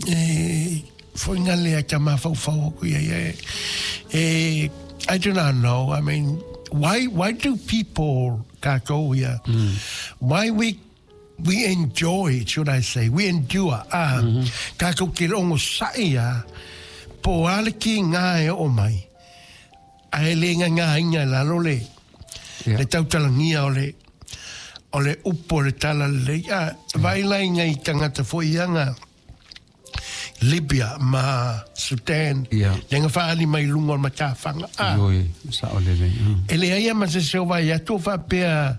E foi ngale a ta mafaufau aku ia ia e I do not know. I mean, why do people kātou ia why we enjoy, should I say, we endure, ah, kātou ke longo sa'i ia, po ale ki ngā e o mai, a e le ngā ngā inga lalo le, le tautalangia o le upo le tala le, ah, vai lai ngai tangata fo ianga, Libya ma Sudan, le nga whaali mai lunga o matawhanga. Ah. Oi, sa o le le. E le aia ma se seo vai atu whapea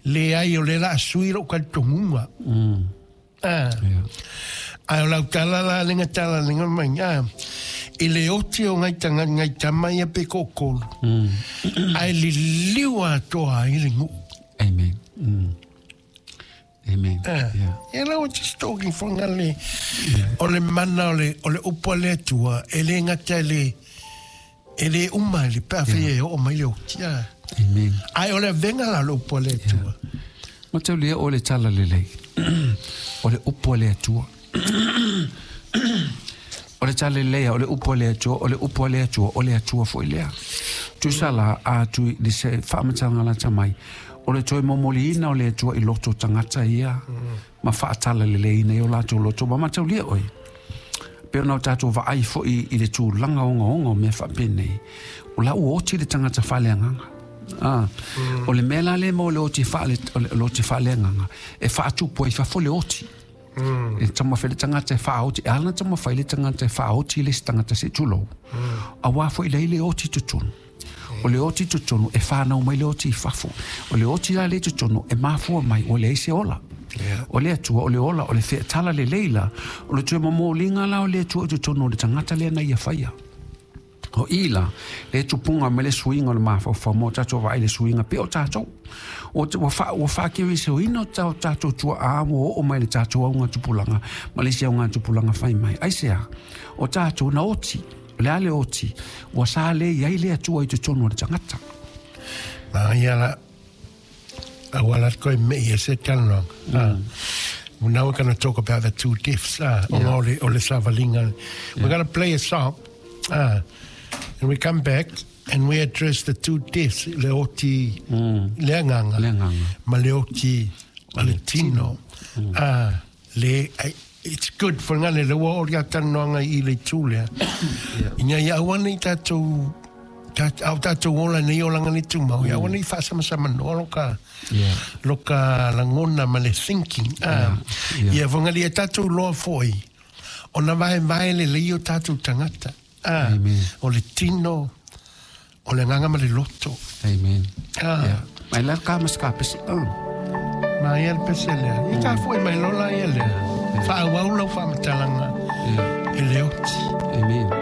le ai o le la sui ro ka tongunga. Ah. Ai o lau tala la lenga tala lenga mai. Ah. I le oti o ngai tanga ngai tama ia pe kokolu. Ai li liwa toa i le ngu. Amen. Amen. Yeah. You know, just talking for ngale. O le mana o le upo le atua, e le ngata le e le uma le pa fe o mai le otia. Amen. Ai o le venga la le upo le atua. Ma tau lia o le tala le lei. O le upo le atua. O le tala le lei, o le upo le atua, o le upo le atua, o le atua foi lea. Tu sala a tu le se whaamatanga la tamai. O le toi momoli ina o le atua i loto tangata ia. Ma whaatala le lei nei o lātou loto. Ma matau lia oi. Pe ona o tātou vaai foi i le tūlanga onga onga o mea whaapene. O la ua oti le tangata whaleanganga. Ah. O le mea la le mo le oti whaale, o le oti whaleanganga. E whaatupu ai whafo le oti. E tama whai le tangata e whaoti. E alana tama whai le tangata e whaoti le tangata se tūlou. A wā foi lei le oti tutunu. O le oti tutunu e whanau mai le oti i whafo. O le oti la le tutunu e mafua mai o le eise ola. O le atua, o le ola, o le wheatala le leila. O le tue momolinga la o le atua tutunu o le tangata lea na ia whaia. O ila, le tupunga me le suinga o le mawhawhau mō tātou vai le suinga pe o tātou. O te wha se o ino tātou tātou tua a o o mai le tātou au ngā tupulanga, ma le se au ngā tupulanga whai mai. Ai sea, o tātou na oti, le ale oti, ua sa le iai le atua i te tonu o le tangata. Nā ia la, a wala koe me ia se talanoa. Now we're going to talk about the two deaths. O le savalinga. We're going to play a song. And we come back and we address the two deaths, le oti le anganga, ma le oti ma le tino. Le, it's good for ngale le ua ori atanoanga i le tūlea. Ina ia awana i tātou, au tātou ola nei olanga ni tūmau, ia awana i whaasamasama noa loka, loka langona ma le thinking. Ia for ngale ia tātou loa foi, ona vae vae le leo tātou tangata. O le tino, o le nganga ma le loto. Amen. Mai la ka mas ka pesi. Mai el pesi lea. I ka foi mai lola ia lea. Wha au lau wha matalanga. E le oti. Amen.